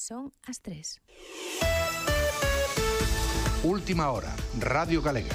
Son as 3. Última hora, Radio Galega.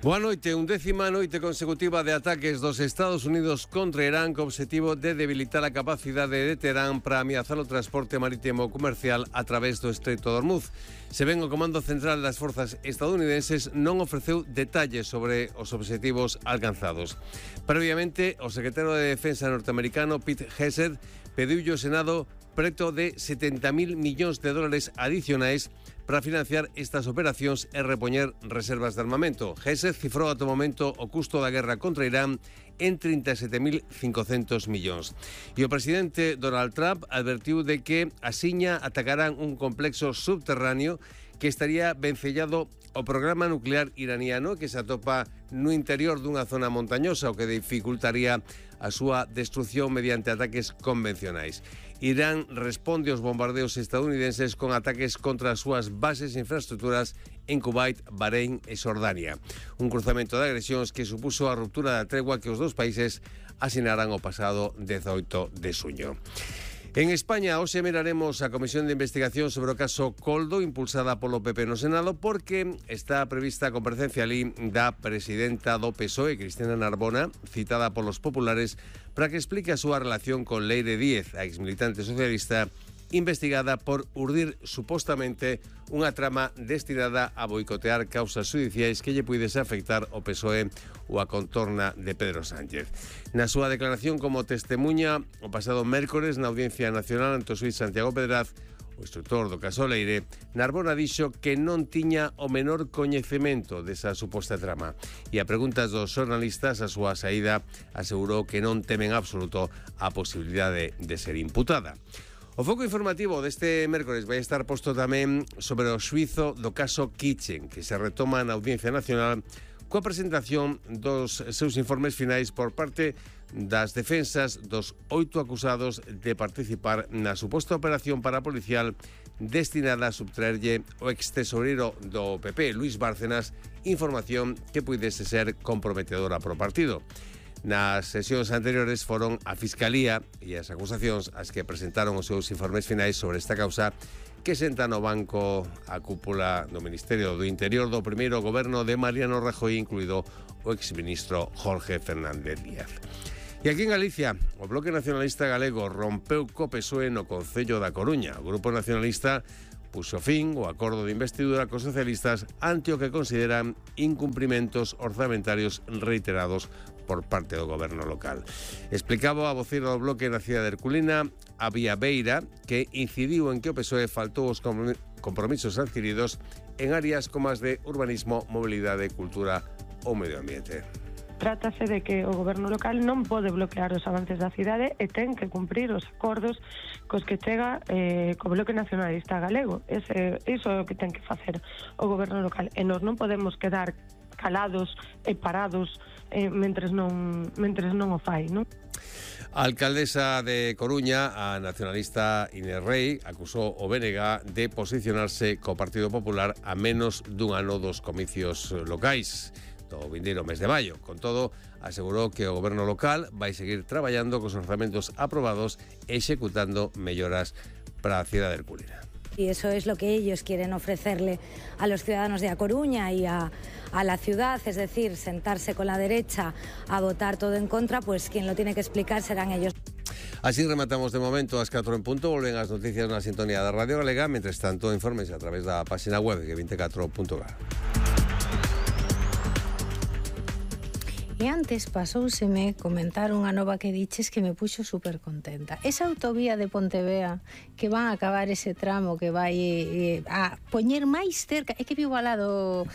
Boa noite, 11ª noite consecutiva de ataques dos Estados Unidos contra Irán co obxectivo de debilitar a capacidade de Teherán para ameazar o transporte marítimo comercial a través do Estreito de Hormuz. Se ven, o Comando Central das Forzas Estadounidenses non ofreceu detalles sobre os obxectivos alcanzados. Previamente, o secretario de Defensa norteamericano Pete Hegseth pediulle ao Senado preto de 70.000 millóns de dólares adicionais para financiar estas operacións e repoñer reservas de armamento. Hegseth cifrou ata o momento o custo da guerra contra Irán en 37.500 millóns. E o presidente Donald Trump advertiu de que asiña atacarán un complexo subterráneo que estaría vencellado ao programa nuclear iraniano que se atopa no interior dunha zona montañosa, o que dificultaría a súa destrucción mediante ataques convencionais. Irán responde aos bombardeos estadounidenses con ataques contra as súas bases e infraestructuras en Kuwait, Bahrein e Xordania. Un cruzamento de agresións que supuso a ruptura da tregua que os dous países asinaran o pasado 18 de xuño. En España, hoxe miraremos a Comisión de Investigación sobre o caso Coldo, impulsada polo PP no Senado, porque está prevista a comparecencia ali da presidenta do PSOE, Cristina Narbona, citada polos populares, para que explique a súa relación con Leire Díez, a exmilitante socialista, investigada por urdir supostamente unha trama destinada a boicotear causas judiciais que lle puidese afectar o PSOE ou a contorna de Pedro Sánchez. Na súa declaración como testemunha o pasado mércores na Audiencia Nacional ante o xuíz Santiago Pedraz, o instructor do caso Leire, Narbona dixo que non tiña o menor coñecemento desa suposta trama e a preguntas dos xornalistas a súa saída asegurou que non temen absoluto a posibilidade de ser imputada. O foco informativo deste mércores vai estar posto tamén sobre o xuízo do caso Kitchen, que se retoma na Audiencia Nacional coa presentación dos seus informes finais por parte das defensas dos 8 acusados de participar na suposta operación parapolicial destinada a subtraerlle o ex-tesoreiro do PP, Luis Bárcenas, información que puidese ser comprometedora pro partido. Nas sesións anteriores foron a Fiscalía e as acusacións as que presentaron os seus informes finais sobre esta causa que senta no banco a cúpula do Ministerio do Interior do primeiro goberno de Mariano Rajoy, incluído o exministro Jorge Fernández Díaz. E aquí en Galicia, o Bloque Nacionalista Galego rompeu co PSOE no Concello da Coruña. O Grupo Nacionalista puxo fin ao acordo de investidura cos socialistas ante o que consideran incumprimentos orzamentarios reiterados por parte do goberno local. Explicaba a voceira do Bloque na cidade de Herculina, a Vía Beira, que incidiu en que o PSOE faltou os compromisos adquiridos en áreas como as de urbanismo, mobilidade, cultura ou medio ambiente. Trátase de que o goberno local non pode bloquear os avances da cidade e ten que cumprir os acordos cos que chega co Bloque Nacionalista Galego. Iso é o que ten que facer o goberno local e nós non podemos quedar calados e parados mentres non o fai, non? A alcaldesa de Coruña, a nacionalista Inés Rei, acusou o BNG de posicionarse co Partido Popular a menos dun ano dos comicios locais do vindeiro mes de maio. Con todo, asegurou que o goberno local vai seguir traballando cos orzamentos aprobados e executando melloras para a cidade de Herculina. Y eso es lo que ellos quieren ofrecerle a los ciudadanos de A Coruña y a la ciudad, es decir, sentarse con la derecha a votar todo en contra, pues quien lo tiene que explicar serán ellos. Así rematamos de momento ás 4 en punto. Volven as noticias na sintonía da Radio Galega. Mentres tanto, informes a través da página web de 24.gal. E antes pasouseme comentar unha nova que diches que me puxo super contenta. Esa autovía de Pontevea que van a acabar ese tramo que vai a poñer máis cerca, é que vivo ao lado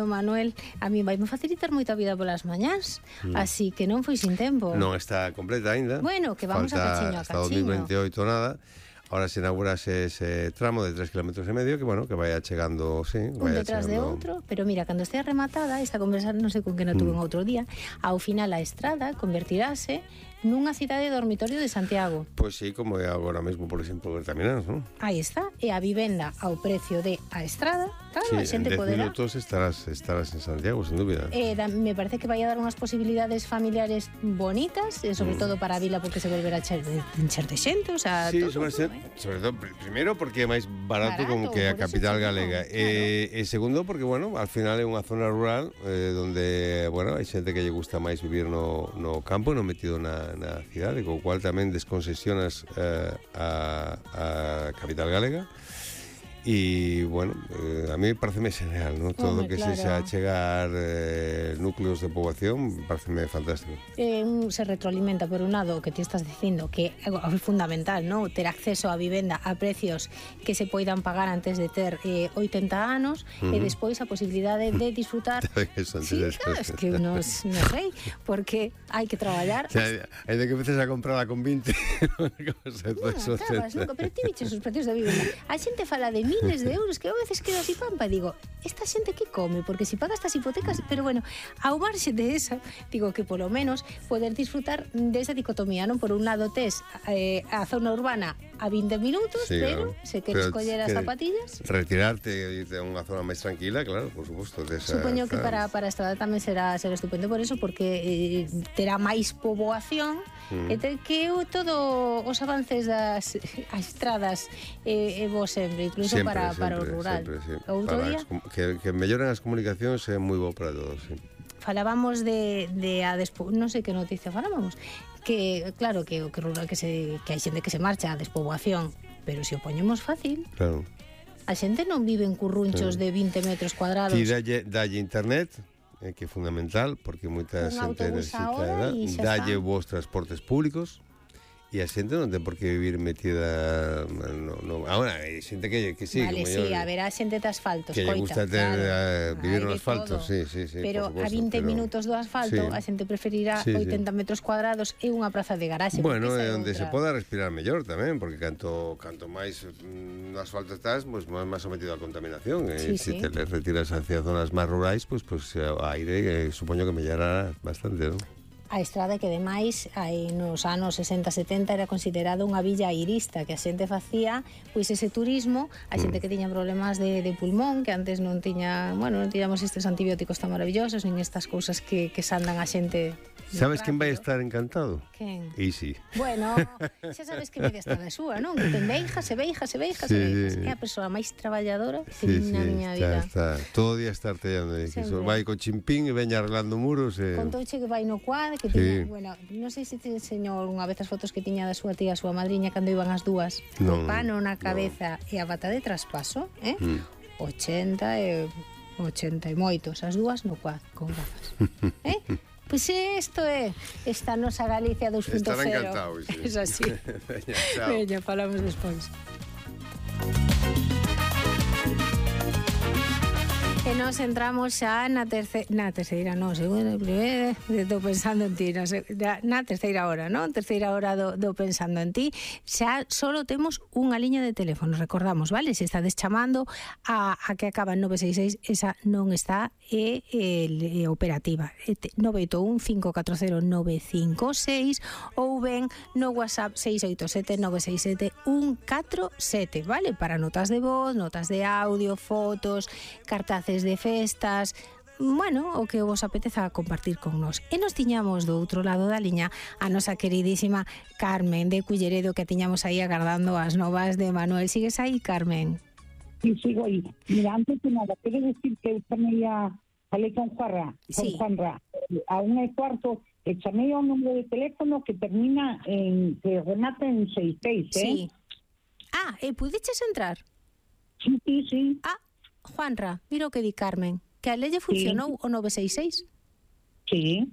Manuel, a mí vai me facilitar moita vida polas mañás, así que non foi sin tempo. Non está completa aínda. Bueno, que vamos a cachiño a cachiño. Hasta 2028 nada. Ahora se inaugurase ese tramo de 3,5 km que, bueno, que vaya chegando, sí, un detrás de outro, pero mira, cando estea rematada esta conversa, non sei con que non tuve un outro día, ao final a estrada convertirase nunha cidade dormitorio de Santiago. Pois sí, como é agora mesmo, por exemplo, Bertamináns, non? Aí está, e a vivenda ao precio de a estrada, claro, Sí, a xente en 10 poderá. minutos estarás en Santiago, sin dúbida. Me parece que vai a dar unhas posibilidades familiares bonitas, sobre todo para a vila porque se volverá a encher de xente, o sea, Sí, todo, sobre todo, primeiro porque é máis barato como que a por eso capital te digo, galega. claro. E segundo porque, bueno, al final é unha zona rural donde, bueno, hai xente que lle gusta máis vivir no campo e non metido na cidade, co cual tamén desconcesionas a capital galega. E, bueno, a mí pareceme genial, ¿no? Todo o que claro. sexa chegar núcleos de poboación pareceme fantástico. Se retroalimenta por un lado o que ti estás dicindo que é fundamental, ¿no? Ter acceso a vivenda a precios que se poidan pagar antes de ter 80 anos e despois a posibilidade de disfrutar. Sí, claro, es que non sei, porque hai que traballar. O sea, hai de que empeces a comprarla con 20. Acabas, nunca, pero ti viches os precios da vivenda. A xente fala de miles de euros que a veces quedo así pampa e digo, esta xente que come? Porque si paga estas hipotecas, pero bueno, ao marxe de esa, digo que polo menos poder disfrutar desa dicotomía, non? Por un lado tes a zona urbana a 20 minutos, Sí, pero claro. se queres coller as zapatillas, Retirarte e irte a unha zona máis tranquila, claro, por suposto. supoño que para a estrada tamén será estupendo por eso, porque terá máis poboación e ter que todo os avances das estradas e vos sempre, incluso para o rural. Sempre, sí. Outro día Que melloren as comunicacións é moi bo para todos, sí. falábamos de non sei que noticia falábamos, que claro que o que rural que hai xente que se marcha a despoboación, pero se o poñemos fácil, Claro. a xente non vive en currunchos de 20 metros cuadrados. Ti dalle internet, que é fundamental, porque moita Un xente autobús necesita, ahora e xa dalle está. vos transportes públicos, e a xente non ten por que vivir metida ahora, hai xente que sí, Vale, que sí, mellor- a ver, a xente de asfalto, que lle gusta vivir no asfalto, sí, pero por a suposto, 20 minutos do asfalto sí. a xente preferirá Sí, 80 metros cuadrados e unha praza de garaxe. Bueno, porque esa é onde outra. se poda respirar mellor tamén, porque canto máis no asfalto estás, pues máis sometido á contaminación. Sí, Se sí. te retiras hacia zonas máis rurais, pues o aire supoño que mellorará bastante, ¿no? A estrada que demais nos anos 60-70 era considerado unha villa airista, que a xente facía pois ese turismo, a xente que tiña problemas de pulmón, que antes non tiñamos estes antibióticos tan maravillosos, nin estas cousas que sandan a xente. Sabes quen vai rápido. estar encantado? Quen? Easy. Bueno, xa sabes que media está da súa, non? Que ten veijas. Sí, É a persoa máis traballadora que vi na miña vida. Está. Todo o día está artellando. Sempre. Vai co chimpín e veña arreglando muros. Contouche que vai no quad, que Sí. tiña, bueno, non sei se te enseñou unha vez as fotos que tiña da súa tía, a súa madriña, cando iban as dúas, Non, o pano na cabeza e a bata de traspaso, 80 e moitos, as dúas no quad, con gafas. Pois isto é esta nosa Galicia 2.0. Estará encantado, sí. Es así. Veña, chao. Veña, falamos despois. E nos entramos xa na terceira, non, segunda, primeira, estou pensando en ti, na terceira hora, non? Terceira hora do pensando en ti. Xa solo temos unha liña de teléfono, recordamos, vale? Se estades chamando a que acaba en 966, esa non está operativa. 981-540-956 ou ben no WhatsApp 687-967-147, vale? Para notas de voz, notas de audio, fotos, cartaces de festas, bueno, o que vos apeteza compartir con nós. E nos tiñamos do outro lado da liña a nosa queridísima Carmen de Culleredo, que tiñamos aí agardando as novas de Manuel. Sigues aí, Carmen? Sí, sigo aí. Mira, antes de nada, quero decir que eu chamei falei con Juanra, Sí. a 1:15, e chamei ao número de teléfono que termina que remata en 66, Sí. Ah, e pudiches entrar? Sí. Ah, Juanra, mira o que di Carmen, que a lelle funcionou o 966. Sí.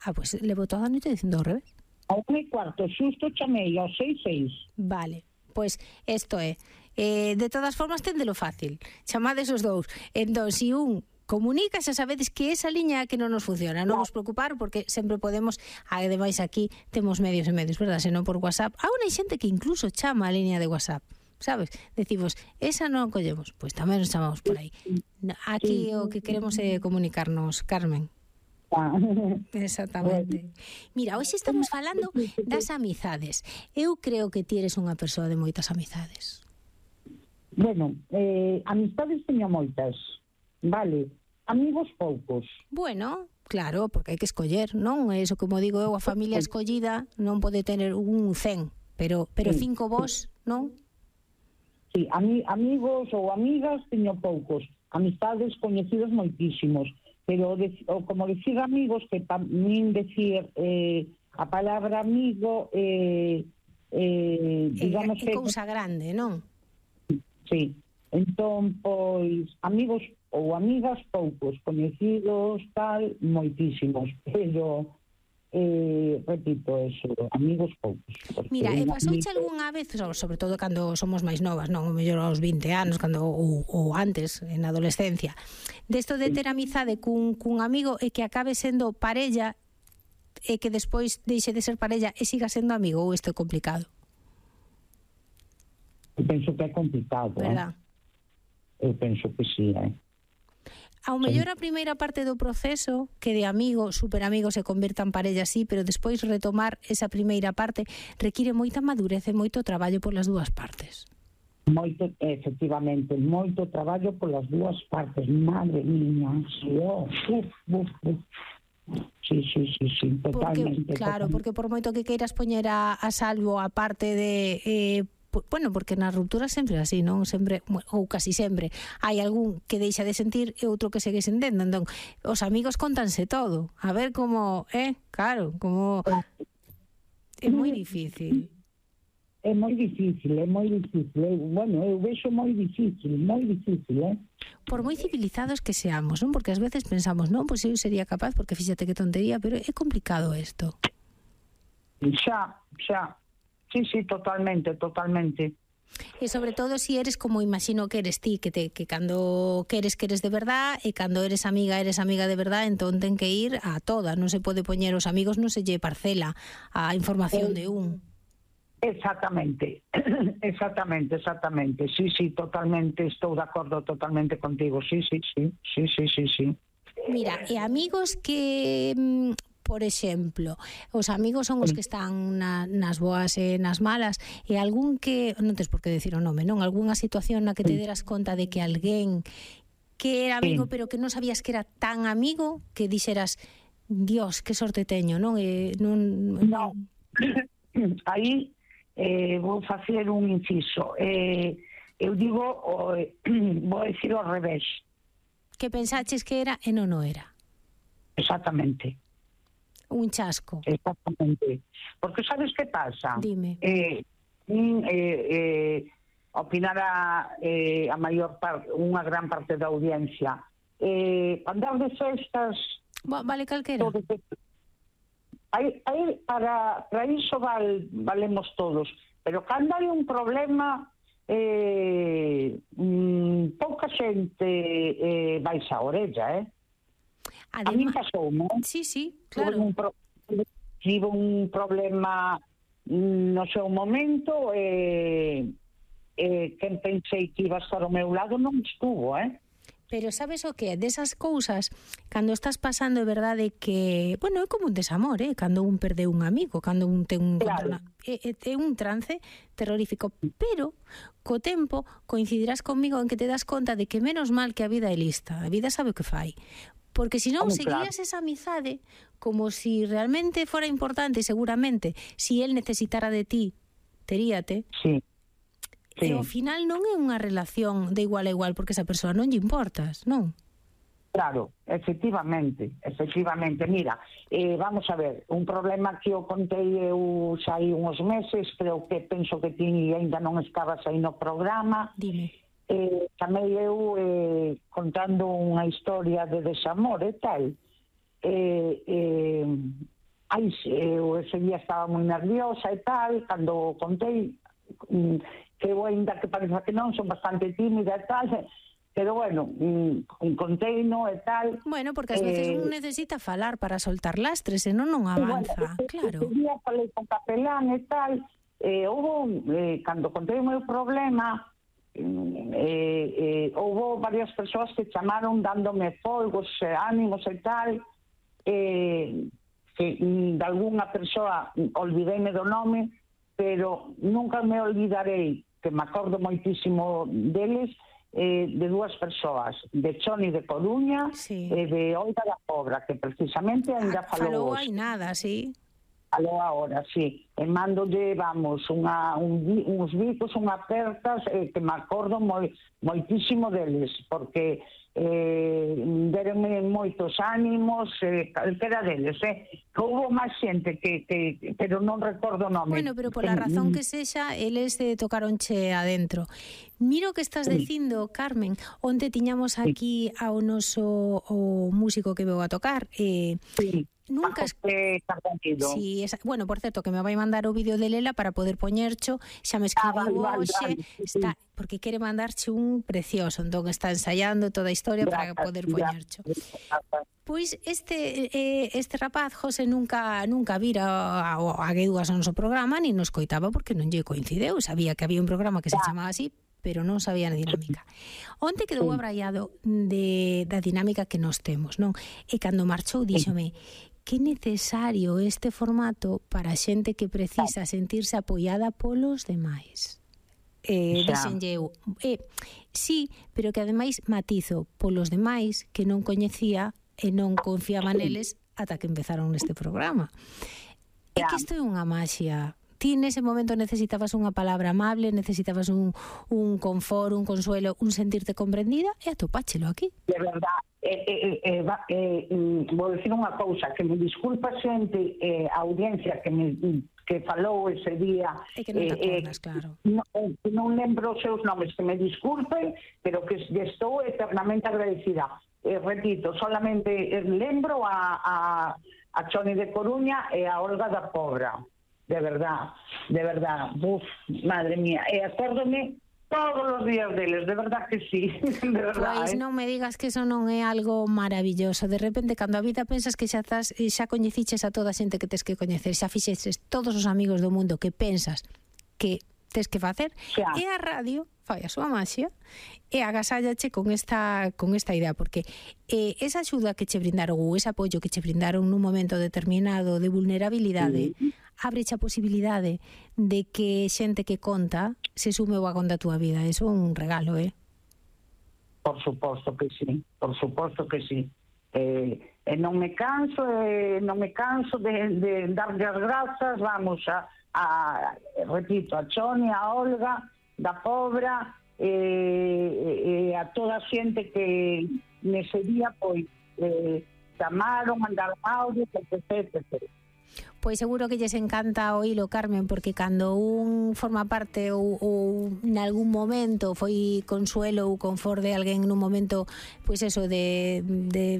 Ah, pois pues, levo toda a noite dicindo ao revés. A 1:15, xusto chamei ao 66. Vale, pois isto é. De todas formas, téndelo fácil. Chamades os dous. Entón, se un comunica, xa sabedes que esa liña que non nos funciona. Non vos preocupar, porque sempre podemos, ademais aquí temos medios e medios, verdad? Senón por WhatsApp. Aún hai xente que incluso chama a liña de WhatsApp. Sabes? Decimos, esa non collemos, pois tamén nos chamamos por aí. Aquí o que queremos é comunicarnos, Carmen. Exactamente. Mira, hoxe estamos falando das amizades. Eu creo que ti eres unha persoa de moitas amizades. Bueno, amistades teño moitas, vale, amigos poucos. Bueno, claro, porque hai que escoller, non? Eso como digo eu, a familia escollida non pode tener un 100, pero 5 vos, non? Sí, amigos ou amigas teño poucos, amistades coñecidos moitísimos, pero como decir amigos, que para min decir a palabra amigo digamos é cousa grande, non? Sí, entón, pois, amigos ou amigas poucos, coñecidos, tal, moitísimos, pero, repito eso, amigos poucos. Mira, e pasouche algunha vez, sobre todo cando somos máis novas, non? O mellor aos 20 anos, ou antes, en adolescencia, desto de ter amizade cun amigo e que acabe sendo parella e que despois deixe de ser parella e siga sendo amigo, ou isto é complicado? Eu penso que é complicado, verdad? Eu penso que sí, Ao mellor a primeira parte do proceso, que de amigo, superamigo se convirta en parella así, pero despois retomar esa primeira parte require moita madurez e moito traballo polas dúas partes. Moito, efectivamente, moito traballo polas dúas partes, madre miña, sí, totalmente. Porque, claro, porque por moito que queiras poñer a salvo a parte de... bueno, porque nas rupturas sempre é así, non? Sempre, ou casi sempre, hai algún que deixa de sentir e outro que segue sentendo. Entón, os amigos contanse todo. A ver como, claro, como... É moi difícil. É moi difícil. Bueno, eu vexo moi difícil, Por moi civilizados que seamos, non? Porque ás veces pensamos, non, pois eu sería capaz, porque fíxate que tontería, pero é complicado isto. Xa. Sí, totalmente. E sobre todo si eres como imagino que eres ti, que cando queres de verdad e cando eres amiga de verdad, entón ten que ir a toda, non se pode poñer os amigos, non se lle parcela a información de un. Exactamente. Sí, totalmente, estou de acordo totalmente contigo. Sí. Mira, e amigos que... Por exemplo, os amigos son os que están nas boas e nas malas, e algún que, non tens por que decir o nome, non? Algúnha situación na que te deras conta de que alguén que era amigo pero que non sabías que era tan amigo que dixeras, Dios, que sorte teño, non? Non. Aí vou facer un inciso. Eu digo, vou dicir ao revés. Que pensaches que era e non o era. Exactamente. Un chasco. Exactamente. Porque sabes que pasa? Dime. Opinará a maior parte, unha gran parte da audiencia. Andar de festas... Vale calquera. Para iso valemos todos. Pero cando hai un problema, pouca xente vais a orella, A mí pasou, non? Sí, claro. Tive un problema no seu momento quen pensei que iba a estar ao meu lado non estuvo, Pero sabes o que? Desas cousas, cando estás pasando, é verdade que, bueno, é como un desamor, cando un perde un amigo, cando un ten un claro. É un trance terrorífico, pero co tempo coincidirás conmigo en que te das conta de que menos mal que a vida é lista, a vida sabe o que fai. Porque se non seguías esa amizade como si realmente fora importante, seguramente, si él necesitara de ti, teríate. Sí. E ao final non é unha relación de igual a igual porque esa persoa non lle importas, non? Claro, efectivamente. Mira, vamos a ver, un problema que eu contei eu xa hai uns meses, creo que penso que ti ainda non estabas aí no programa. Dime. Chamei eu contando unha historia de desamor e tal. Eu ese día estaba moi nerviosa e tal, cando contei, que eu ainda que parece que non, son bastante tímida e tal, pero bueno, conteino e tal. Bueno, porque ás veces un necesita falar para soltar lastres, senón non avanza, claro. Ese día falei con capelán e tal, cando contei o meu problema, houve varias persoas que chamaron dándome folgos, ánimos e tal, que de algunha persoa olvideime do nome, pero nunca me olvidarei, que me acordo moitísimo deles, de dúas persoas, de Choni de Coruña e de Olga da Pobra, que precisamente ainda falou hai nada, sí. Falou agora, sí. E mandolle, vamos, uns bicos, unhas apertas, que me acordo moitísimo deles, porque deronme moitos ánimos, calquera deles, houve máis xente pero non recordo o nome. Bueno, pero pola razón que sexa, eles tocaronche adentro. Miro que estás dicindo, Carmen, onde tiñamos aquí ao noso músico que veu a tocar. Nunca sí, bueno, por certo, que me vai mandar o vídeo de Lela para poder poñercho, xa me escribiu hoxe, está, porque quere mandarche un precioso, entón está ensaiando toda a historia para poder poñercho. Pois este rapaz, José, nunca vira a Gueduas ao noso programa, ni nos coitaba porque non lle coincideu, sabía que había un programa que se chamaba así, pero non sabía a dinámica. Onte quedou abraiado da dinámica que nos temos, non? E cando marchou díxome que necesario este formato para a xente que precisa sentirse apoiada polos demais. Dixenlle eu, sí, pero que ademais matizo polos demais que non coñecía e non confiaba neles ata que empezaron neste programa. É que isto é unha maxia. Ti nese momento necesitabas unha palabra amable, necesitabas un confort, un consuelo, un sentirte comprendida, e atopáchelo aquí. De verdad, vou dicir unha cousa, que me disculpa xente, a audiencia que falou ese día, e que non te acordas, claro. Non lembro os seus nomes, que me disculpen, pero que estou eternamente agradecida. Repito, solamente lembro a Choni de Coruña e a Olga da Pobra. De verdad, uf, madre mía, e acórdome todos os días deles, de verdad que sí, de verdad. Pois non me digas que eso non é algo maravilloso, de repente cando a vida pensas que xa coñeciches a toda a xente que tes que coñecer, xa fixeches todos os amigos do mundo que pensas que tes que facer, e a radio fai a súa maxia e agasállache con esta idea, porque esa axuda que che brindaron ou ese apoio que che brindaron nun momento determinado de vulnerabilidade, abreche a posibilidade de que xente que conta se sume ao vagón da túa vida. Eso é un regalo, Por suposto que sí, por suposto que sí. E non me canso de darlle as grazas, vamos, repito, a Choni, a Olga da Pobra, a toda a xente que nese día pois chamaron, mandaron audio, etc. Pois seguro que lles encanta oílo, Carmen, porque cando un forma parte ou nalgún momento foi consuelo ou confort de alguén nun momento, pois eso, de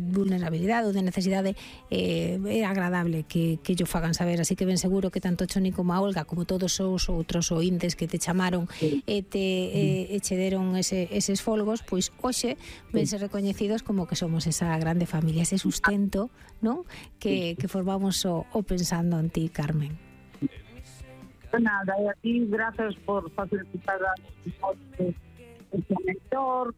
vulnerabilidade ou de necesidade, é agradable que yo fagan saber, así que ben seguro que tanto Choni como a Olga, como todos os outros ointes que te chamaron e che deron eses folgos, pois hoxe vense recoñecidos como que somos esa grande familia, ese sustento, non? Que formamos o pensando en ti, Carmen. Nada, e a ti, gracias por facilitar este mentor,